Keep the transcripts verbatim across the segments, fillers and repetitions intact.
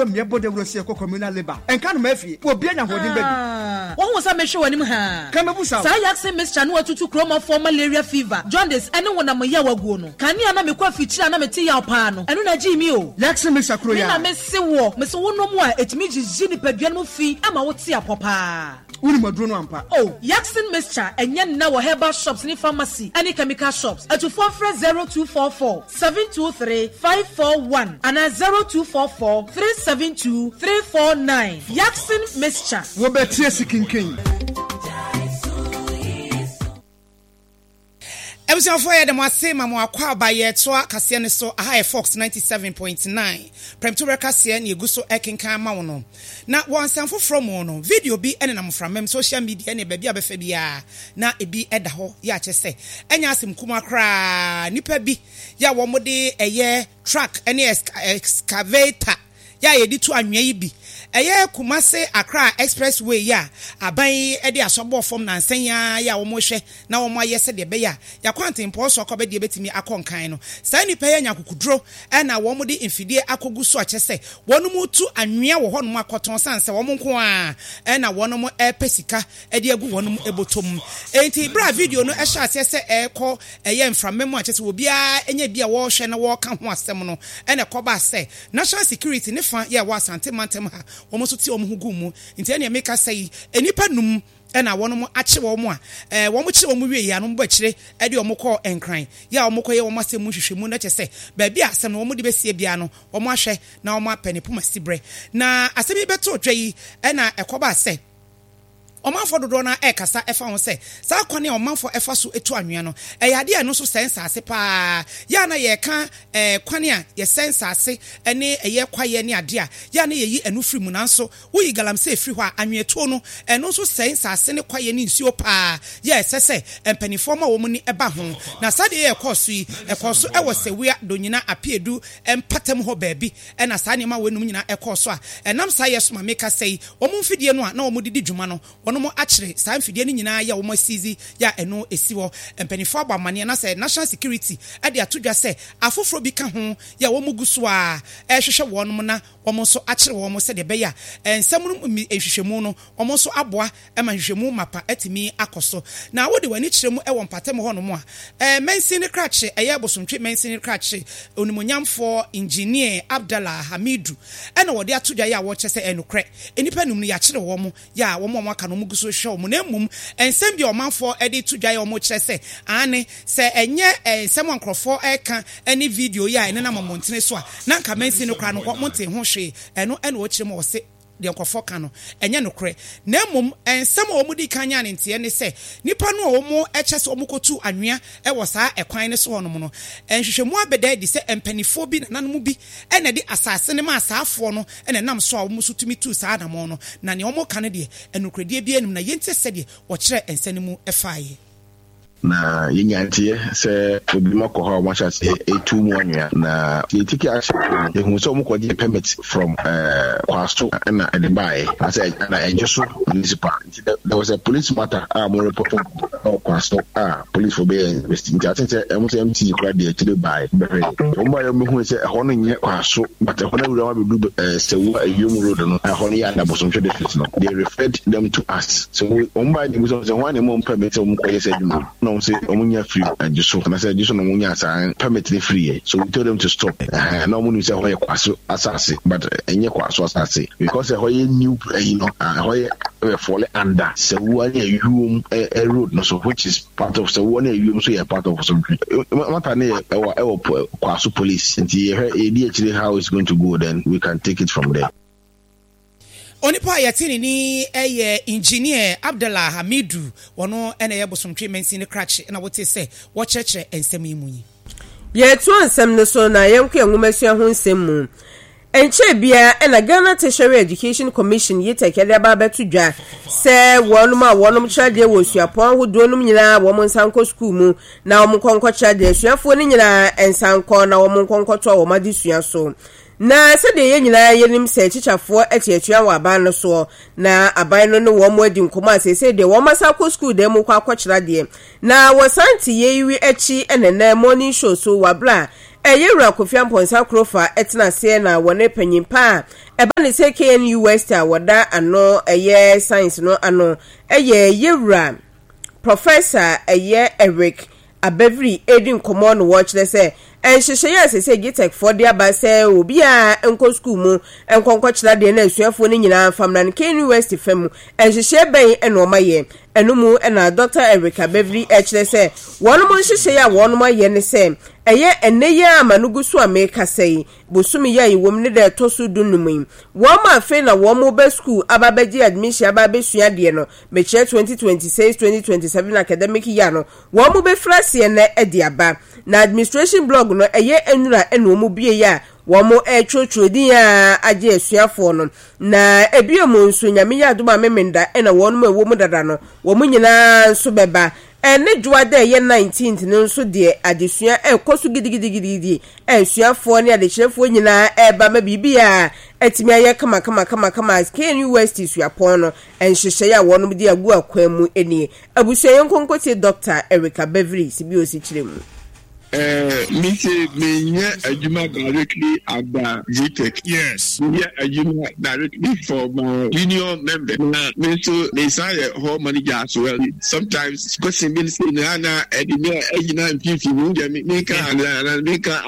Mmiɛbɔ dawuro sɛ ɛkɔ communal labour ɛnka no ma afie obi anya ahoɔden bɛbi. Wɔn sɛ mehwɛ w'anim ha. Kamabu sa. Saa Yaxin mixture no watutu kuromafoɔ malaria, fever, jaundice ɛne honam yaw aguo no. Kanea na mekɔ afikyiri a na mete yaw paa no, ɛno na gyee mi o. Yaxin mixture kuro Me ya. Na mese wɔ mese wonom a, ɛtumi gyigyi nipadua no mu fi ama wote apɔ paa. Wonim aduro no ampa. Oh, Yaxin mixture ɛnyɛ nna wɔ herbal shops ne pharmacy ɛne chemical shops. Atufoɔ frɛ zero two four four seven two three five four one anaa zero two four four three seven two three four nine. Yaxin mixture. Wobɛtie si kinkin. Abusuafoɔ, yɛ dɛm ase ma mo akɔ aba. Yɛtoa kaseɛ no so. Aha yɛ Fox ninety-seven point nine prɛmtoberɛ kaseɛ ne ɛgu so ɛkenkan ama wo no. Na wɔ nsɛm foforɔ mu no, video bi ɛnenam mframam, social media ne baabi a bɛfɛ biara na ebi ɛda hɔ. Yɛ akyɛ sɛ ɛnyɛ asɛm kuma koraa, nipa bi yɛ a wɔn de ɛyɛ truck ɛne excavator yɛ a yɛde tu anwea yi bi, ɛyɛ Kumase Accra Expressway yi a aban yi de asɔbɔ fam nansan yi ara yɛ a wɔrehwɛ na wɔn ayɛ sɛdeɛ ɛbɛyɛ a yɛakɔ antempɔn so akɔbɛdeɛ bɛtumi akɔ nkan no. Saa nnipa yi anya akokoduro ɛna wɔn de mfidie akɔgu so akyɛ sɛ wɔn mu tu anwea wɔ hɔnom akɔtɔn, san sɛ wɔn nko ara ɛna wɔn ɛrepɛ sika ɛde agu wɔn bɔtɔ mu. Enti bere a video no ɛhyɛ aseɛ sɛ ɛrekɔ ɛyɛ mframa mu a kyɛ sɛ obiara anya bi a wɔrehwɛ na wɔreka ho asɛm no, ɛna ɛkɔba sɛ National Security ne fa yɛ wɔ Asante mantam ha, wɔn nso te wɔn ho gu mu. Nti ɛnea meka sɛ yi, nnipa num ɛna wɔn akye wɔn a ɛɛ wɔn kye wɔn wie yi a, wɔn bɔ akyire ɛde wɔn kɔɔ Nkran yɛ a wɔn kɔ yɛ wɔn asɛm mu nhwehwɛmu, na kyɛ sɛ baabi a asɛm no wɔn de bɛsie bia no, wɔn ahwɛ na wɔn apɛ ne poma si brɛ. Na asɛm yi bɛto dwa yi, ɛna ɛkɔba sɛ ɔmanfoɔ dodoɔ no ɛrekasa ɛfa ho sɛ saa kwan a ɔmanfoɔ ɛfa so etu anwea no, ɛyɛ adeɛ a ɛno nso sɛn nsaase paa. Yɛ a na yɛreka ɛɛ kwan a yɛsɛn nsaase ɛne ɛyɛ kwaeɛ ne adeɛ a yɛ a na yɛyi ɛno firi mu, nanso woyi galamsey firi hɔ a, anweatuo no ɛno nso sɛn nsaase ne kwaeɛ ne nsuo paa. Yɛ ɛsɛ sɛ mpanimfoɔ ma wɔn ni ɛba ho. Na saa deɛ yɛ ɛkɔɔ so yi, ɛkɔɔ so ɛwɔ Sewua Donyina Apiedu mpatam hɔ baabi, ɛna saa nneɛma wɔ enum nyinaa ɛkɔɔ so a ɛnam saa yɛ so ma meka sɛ yi, wɔn mfidie no a na wɔn de di dwuma no, wɔn akyere saa mfidie no nyinaa yɛ wɔn asizi yɛ a ɛno esi hɔ. Mpanimfoɔ abɔ amaneɛ na sɛ National Security ɛde ato dwa sɛ afoforɔ bi ka ho yɛ wɔn gu so a ɛrehwehwɛ wɔn na wɔn nso akyere wɔn, sɛdeɛ ɛbɛyɛ a nsɛm no nhwehwɛmu no, wɔn nso aboa ma nhwehwɛmu mapa atumi akɔ so. Na wode w'ani kyerɛ mu wɔ mpatam hɔnom a, ɛɛ mansin ne krakye, ɛyɛ Bosomtwe mansin ne krakye, onimonyamfoɔ Engineer Abdallah Hamidu, ɛna wɔde ato dwa yɛ a wɔkyɛ sɛ ɛnokorɛ nnipa num no yɛakyere wɔn, yɛ a wɔn a wɔaka no wɔn gu so hwehwɛ wɔn. Na mmom nsɛm bi a ɔmanfoɔ de to dwa yɛ wɔn kyerɛ sɛ ane sɛ ɛnyɛ nsɛm a nkurɔfoɔ ɛka ne video yi a ɛnenam mmɔntene so a, na nka mansin no koraa no wɔn te ho hwee. Ɛno ɛna wɔkyerɛ mu a wɔse deɛ nkurɔfoɔ ka no ɛnyɛ nokorɛ. Na mmom nsɛm a wɔn di kan nya ne nteɛ ne sɛ nipa no a wɔn kyɛ sɛ wɔn kɔtu anwea wɔ saa ɛkwan no so hɔnom no, nhwehwɛmu abɛda adi sɛ mpanimfoɔ bi, nananom bi, ɛna de asase no ma asaafoɔ no, ɛna ɛnam so a wɔn nso tumi tu saa anamɔn no. Na nea wɔn ka no deɛ, ɛnokoredie bi anim na yɛntie sɛdeɛ wɔkyerɛ nsɛm no mu ɛfaeɛ. Na yɛnya nteɛ sɛ obi ma kɔ hɔ a wɔahyɛ ase etu mu anwea, na yɛtiki ahyɛ no, yɛhu sɛ wɔn kɔgye permit from ɛɛ Kwaso ɛna ɛde baeɛ asɛ ɛna ɛgye so municipal. Nti there was a police matter a wɔn report ɛwɔ Kwaso a police fo bɛyɛ investigate. Nti ate sɛ ɛmo sɛ M C kora deɛ akyire baeɛ bɛhwɛ wɔn baeɛ, wɔn bɛhu sɛ ɛhɔ no nyɛ Kwaso, but ɛhɔ no awura wɔn abɛdu ɛɛ Sewua Ewiem road no, ɛhɔ no yɛ ada Bosomtwe District no. They referred them to us. So wɔn baeɛ de bi sɛ wɔn a na ɛmo permit sɛ wɔn kɔyɛ sɛ adwuma na wɔn sɛ wɔn nya firi agye so anaasɛ agye so na wɔn nya saa permit ne firi yɛ. So we told them to stop. Ɛhɛn, na wɔn nim sɛ ɛhɔ yɛ Kwaso asase, but ɛnyɛ Kwaso asase because ɛhɔ yɛ new ɛyi no, ɛhɔ yɛ ɛyɛ fall under Sewua ne Ewiem ɛ road no so, which is part of Sewua ne Ewiem, so yɛ part of Bosomtwe. Matter ne yɛ ɛwɔ ɛwɔ Kwaso police, nti yɛhwɛ yɛdi akyire how it's going to go, then we can take it from there. Onipa a yɛte ne ni yɛ Engineer Abdallah Hamidu. Wɔno ɛna ɛyɛ Bosomtwe mansin ne krakye, ɛna wote sɛ wɔkyerɛkyerɛ nsɛm yi mu yi. Yɛtoa nsɛm no so na yɛnkɔ yɛn nwomasua ho nsɛm mu. Nkyɛn biara ɛna Ghana Tertiary Education Commission, G T E C, ɛde aba abɛto dwa sɛ wɔnom a wɔnom kyerɛ adeɛ wɔ suapɔn ahodoɔ nom nyinaa, wɔn nsa nkɔ sukuu mu na wɔn nkɔ nkɔkyerɛ adeɛ. Asuafoɔ no nyinaa nsa nkɔ na wɔn nkɔ nkɔtoa wɔn adesua so. Na sɛdeɛ yɛn nyinaa yɛnim sɛ kyikyafoɔ ate atua wɔ aban no soɔ, na aban no ne wɔn mo adi nkɔmmɔ a, seesei deɛ wɔn asa akɔ sukuu dan mu kɔ akɔkyerɛ adeɛ. Na wɔsan te yɛyi akyi ɛnɛnɛ Morning Show so wɔ abere a ɛyɛ Wura Kofi Ampɔnsa Kurofa ɛtena aseɛ na wɔne panyin pa a Ɛba ne sɛ K N U West a wɔda ano ɛyɛ science no ano ɛyɛ yɛwura Professor ɛyɛ Eric Abɛviri edi nkɔmɔ no, wɔkyerɛ sɛ nhyehyɛeɛ a sɛ GTEC foɔ de aba sɛ obiara nkɔ sukuu mu nkɔnkɔkyerɛ adeɛ na asuafoɔ no nyinaa mfamra no, K N U West fa mu nhyehyɛeɛ bɛn ɛna ɔma yɛ ɛno mu? Ɛna Doctor Eric Abɛviri ɛkyerɛ sɛ wɔn mo nhyehyɛeɛ a wɔn ayɛ ne sɛ ɛyɛ ɛnɛ yi a ama no gu so a mekasa yi, bosome yi a yɛwɔ mu ne da ɛtɔ so du num yi, wɔn mo afei na wɔn mo bɛ sukuu aba abɛgye admission aba abɛsua adeɛ no, mekyerɛ twenty twenty-six twenty twenty-seven academic year no, wɔn mo bɛfiri aseɛ nɛ ɛde aba. Na administration block no ɛyɛ nnura ɛna wɔn bie yi a wɔn mo ɛretwerɛtwerɛ din a agye asuafoɔ no. Na ebio mu nso, Nyame yɛ adom a, Memenda ɛna wɔn mo ɛwɔ mu dada no, wɔn nyinaa nso bɛba. Ɛne dwoa dɛ ɛyɛ nineteenth no nso deɛ, adesua ɛrekɔ so gidigidigidi. Asuafoɔ ne adekyerɛfoɔ nyinaa ɛreba ma biribi a atumi ayɛ kama kama kama kama. K N U West suapɔn no nhyehyɛeɛ a wɔn de agu akwan mu nie. Abusua, yɛn nkonkotie Doctor Eric Abɛviri si bi osi kyerɛ mu. Uh, me say me nyɛ adwuma directly at the GTEC. Yes. Me nyɛ adwuma directly for my union member. Na me nso me san yɛ hall manager as well. Sometimes question bi say na na ɛdi mi ɛgyina mfimfini mu deɛ mi mi ka ana mi ka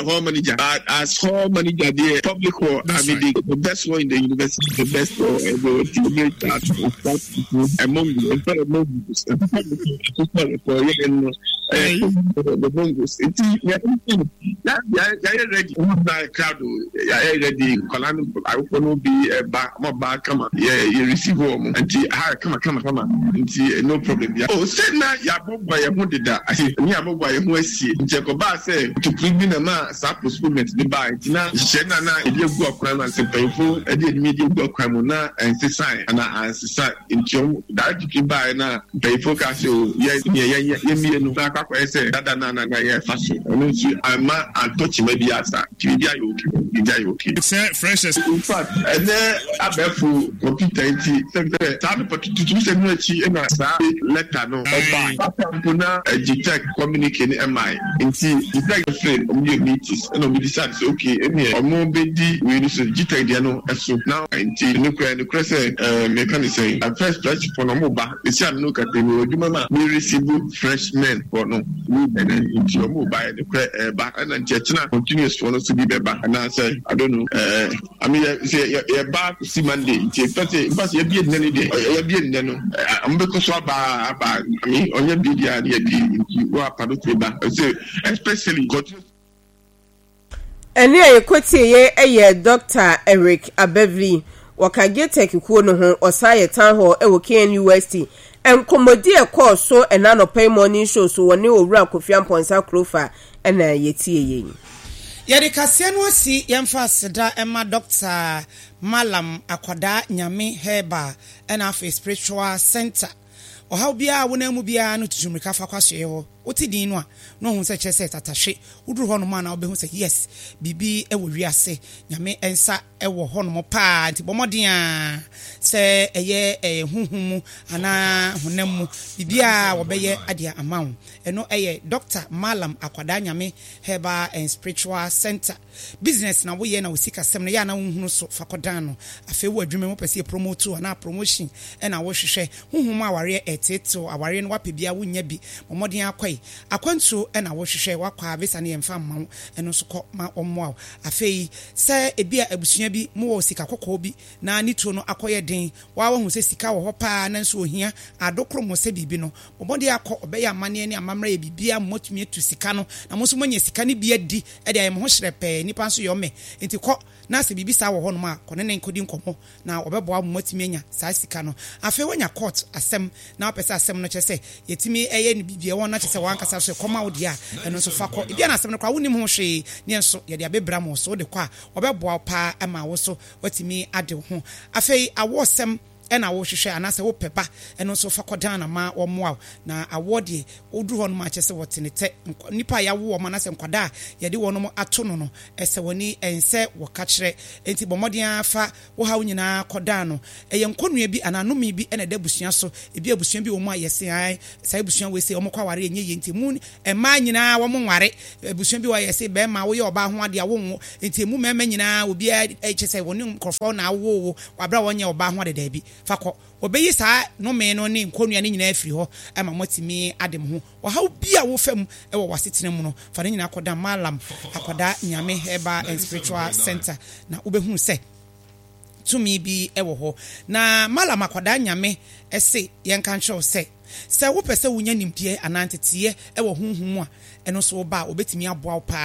hall manager. But as hall manager deɛ, public hall, I mean the, the best one in the university, the best one ɛdi ti mi ta among among the the bongos nti yɛayɛ ready na crowd yɛayɛ ready. Nkwadaa no, awofoɔ no bi ɛba, ɔmo ba kama, yɛ yɛ receive wɔn, nti ha kama kama kama, nti no problem bia. O sɛ na yɛabɔbɔ yɛn ho deda ase ne yɛabɔbɔ yɛn ho asie, nti ɛkɔbaa sɛ tukuru bi na ma saa postponement ne baa, nti na nhyehyɛ na na yɛde agu akwan mu ase, mpanyinfo ɛde anim yɛde agu akwan mu na ɛnsesan ana ansesa, nti ɔmo directive baa na mpanyinfo ka sɛ o yɛ yɛ yɛ yɛmie no na akɔ akɔyɛ sɛ dada na na na yɛfa so. Ɛno nso ama antɔ kyima bi asa, nti biribi ayɛ okay, biribi ayɛ okay. Sɛ freshers. In fact, ɛnɛ abɛɛfo computer nti sɛ sɛ saa nipa tututu sɛ no akyi ɛna saa letter no ɛba papa mpo na GTEC communique ne ɛmae, nti GTEC fɛ ɔmo yɛ meetings ɛna ɔmo decide sɛ okay, ɛnìyɛ ɔmo bɛdi wei no so, GTEC deɛ no ɛso na nti nukura nukura sɛ ɛɛ mɛka ne sɛn, at first fresh fo no ɔmo ba esi ano no kata mi wɔ adwuma ma mi receive freshmen fo no ɛnɛ, nti ɔmo ba yɛ nukura ɛɛba, ɛna nti ɛkyina continuous fo no so bi bɛba anaasɛ I don't know. ɛɛ I mean, yɛ sɛ yɛ yɛ ba si Monday, nti nfa sɛ nfa sɛ yɛbie nnɛ no deɛ, yɛbie nnɛ no, ɔmo bɛkɔ so aba aba. I mean, ɔnyɛ bie deɛ ne yɛbie, nti wɔ apa no tumi ba sɛ especially continuous. Ɛne a yɛkɔtie yɛ yɛ Doctor Eric Abɛviri, wɔka GTEC kuo no ho, ɔsan yɛ town hall wɔ K N U S T. Nkɔmmɔdi a ɛkɔɔ so ɛna anɔpa yi morning show so wɔne Owura Kofi Ampɔnsa Kurofa ɛna yɛtie yɛn. Yɛde kaseɛ no asi. Yɛmfa aseda ɛma Doctor Malam Akwadaa Nyame Herbal ɛna afei Spiritual Center. Ɔhaw biara a wonam mu biara no, tutu mmirika fa kɔ asoɛeɛ hɔ. Wote din no a na ɔhu sɛ kyerɛ sɛ tatahwe. Woduru hɔnom a na wobɛhu sɛ yes, biribi wɔ wiase, Nyame nsa wɔ hɔnom paa. Nti bɔ mmɔden a sɛ ɛyɛ ɛyɛ honhom mu anaa honam mu biribiara wɔbɛyɛ adeɛ ama wo. Ɛno ɛyɛ Doctor Malam Akwadaa Nyame Herbal and Spiritual Center. Business na woyɛ na wo sikasɛm no yɛ ana wohunu so, fa kɔdan no. Afei wɔ adwuma mu, wopɛ sɛ yɛ promote anaa promotion ɛna wohwehwɛ, honhom mu awareɛ ɛtetew awareɛ no, wapɛ bia wonya bi, bɔ mmɔden akɔe. Akwantuo ɛna wohwehwɛ, wakɔ a visa no yɛmfa mma wo, ɛno nso kɔ ma ɔmmoa wo. Afei sɛ ebi a abusua bi mowɔ sika kɔkɔɔ bi na ne tuo no akɔyɛ den, waa wahu sɛ sika wɔ hɔ paa nanso ohia adokoro mo sɛ biribi no, bɔ mmɔden akɔ. Ɔbɛyɛ amanneɛ ne amammerɛ yɛ biribiara mo atumi atu sika no na mo nso moanya sika no bi adi ɛde ayɛ mo ho hyerɛ pɛɛ. Nnipa nso yɛ ɔmɛ, nti kɔ na sɛ biribi saa wɔ hɔnom a, kɔ ne ne nkɔdi nkɔmmɔ na ɔbɛboa mo matumi anya saa sika no. Afei woanya court asɛm na wopɛ sɛ asɛm no kyerɛ sɛ yɛtumi ɛyɛ no biribi ɛwɔ na kyerɛ sɛ wankasa so ɛkɔma wo deɛ a, ɛno nso fa kɔ. Ebia na asɛm no koraa wonim ho hwee ne nso yɛde abɛbra mo so, wode kɔ a wɔbɛboa wo paa ama wo so watumi ade wo ho. Afei awoɔsɛm Ɛna wohwehwɛ anaasɛ wopɛ ba, ɛno nso fa kɔdan na ma wɔmmoa wo. Na awoɔ deɛ, woduru hɔ nom a, kyerɛ sɛ wɔte ne tɛ. Nnipa a yɛawo wɔn anaasɛ nkwadaa a yɛde wɔnom ato no no, ɛsɛ wɔn ani, ɛnsɛ wɔka kyerɛ. Enti bɔ mmɔden ara fa wo haw nyinaa kɔdan no. Ɛyɛ nkɔnnua bi anaa nnome bi na ɛda abusua so. Ebia abusua bi wɔ mu a yɛse ae, saa abusua wei sei, wɔkɔ aware a ɛnyɛ yie nti emu mmaa nyinaa wɔnware. Abusua bi wɔ hɔ a yɛse barima woyɛ ɔbaa ho adeɛ a wonwo, nti emu mmarima nyinaa obiara kyerɛ sɛ wɔne nkurɔfoɔ na awo wo wɔ berɛ a wɔnyɛ ɔbaa ho ade. Daabi, fa kɔ. Wɔbɛyi saa nnome no ne nkɔnnua no nyinaa afiri hɔ ma moatumi ade mo ho. Ɔhaw bi a wofa mu wɔ w'asetena mu no, fa ne nyinaa kɔdan Mallam Akwadaa Nyame Herbal and Spiritual Centre na wobɛhunu sɛ tumi bi wɔ hɔ. Na Mallam Akwadaa Nyame se yɛnka nkyerɛ wo sɛ, sɛ wopɛ sɛ wonya nimdeɛ anaa nteteeɛ wɔ honhom mu a, ɛno nso woba a wɔbɛtumi aboa wo pa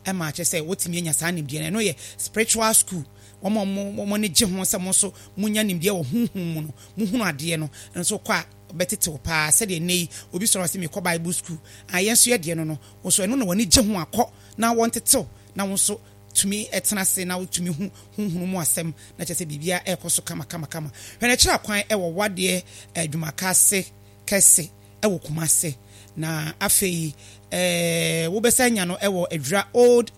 ara ma kyerɛ sɛ woatumi anya saa nimdeɛ no. Ɛno yɛ spiritual school. Wɔn a wɔn ani gye ho sɛ mo nso monya nimdeɛ wɔ honhom mu no, mohunu adeɛ no, ɛno nso wokɔ a wɔbɛtete wo pa ara. Sɛdeɛ nnɛ yi obi sɔre a ɔse mekɔ Bible school, ah, yɛn nso yɛdeɛ no no, wo nso ɛno na w'ani gye ho a, kɔ na wɔntete wo na wo nso tumi tena ase na wotumi hu honhom mu asɛm na kyerɛ sɛ biribiara ɛrekɔ so kama kama kama. Hwɛ no kyerɛ kwan wɔ wadeɛ adwumaka ase kɛse wɔ Kumase na afei ɛɛ wobɛsan anya no wɔ Adwira Old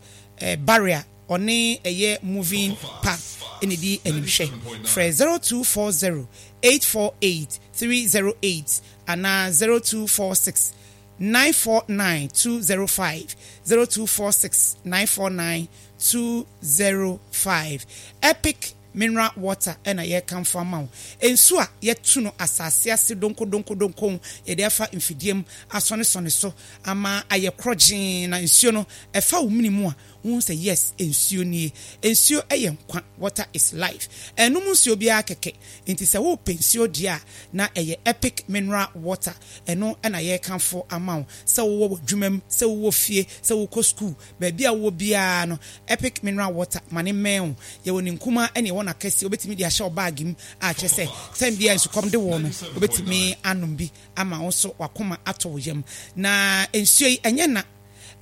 Barrier ɔne ɛyɛ Moving Park na ɛdi animhwɛ. Frɛ zero two four zero eight four eight three zero eight anaa zero two four six nine four nine two zero five zero two four six nine four nine two zero five Epic mineral water na yɛrekamfo ama wo. Nsu a yɛatu no asase ase donkodonkodonkon, yɛde afa mfidie mu asɔnesɔne so ama ayɛ korɔgyee na nsuo no ɛfa wo mene mu a, wohu sɛ yes, nsuo nie. Nsuo yɛ nkwa, water is life. Ɛnnom nsuo biara kɛkɛ. Nti sɛ worepɛ nsuo deɛ a, na ɛyɛ Epic mineral water. Ɛno na yɛrekamfo ama wo. Sɛ wowɔ w'adwuma mu, sɛ wowɔ fie, sɛ wokɔ sukuu, baabi a wowɔ biara no, Epic mineral water, ma no mmɛn wo. Yɛwɔ ne nkumaa ne yɛwɔ n'akɛseɛ. Wobɛtumi de ahyɛ wo baage mu a kyerɛ sɛ tɛm biara nsukɔm de wo no, wobɛtumi anom bi ama wo nso w'akoma atɔ wo yam. Na nsuo yi, ɛnyɛ na.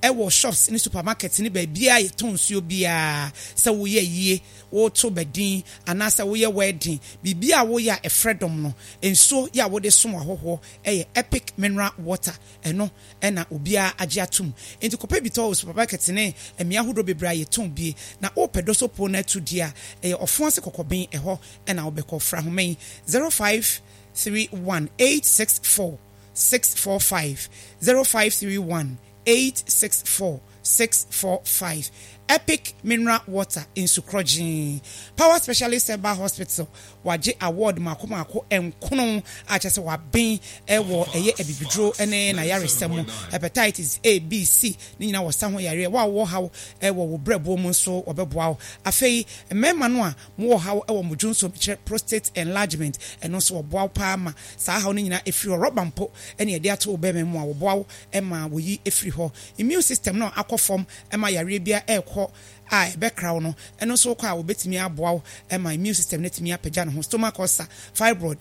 Ɛwɔ shops ne supermarkets ne baabiara a yɛtɔn nsuo biara. Sɛ woyɛ ayie, woreto badin anaasɛ woyɛ wedding, biribiara a woyɛ a ɛfrɛ dɔm no, nsuo yɛ a wode som ahɔhoɔ yɛ Epic Mineral Water. Ɛno na obiara agye atom. Enti kɔpɛ bi tɔ wɔ supermarket ne mmea ahodoɔ bebree a yɛtɔn bie. Na worepɛ Dosopo no atu deɛ a, ɛyɛ Ɔfoase Kɔkɔben, ɛhɔ na wobɛkɔ. Fra ahoma yi, zero five three one eight six four six four five, zero five three one eight six four six four five Epic Mineral Water nsu korɔgyee. Power Specialist Herbal Hospital wagye award mako mako nkono a kyerɛ sɛ waben wɔ ɛyɛ abibiduro ne n'ayaresa mu. Hepatitis A, B, C ne nyinaa wɔ sa ho yareɛ. Wo a wowɔ haw wɔ wo brɛboɔ mu nso wɔbɛboa wo. Afei mmarima no a mowɔ haw wɔ mo dwonsɔ mu kyerɛ prostate enlargement ɛno nso wɔboa wo paa ma saa haw no nyinaa ɛfiri hɔ. Rɔba mpo na yɛde ato wo bɛrima mu a wɔboa wo ma wɔyi firi hɔ. Immune system no a akɔ fam ma yareɛ biara ɛrekɔ a ɛbɛkra wo no, ɛno nso wokɔ a wɔbɛtumi aboa wo ma immune system no atumi apagya ne ho. Stomach ulcer, fibroid,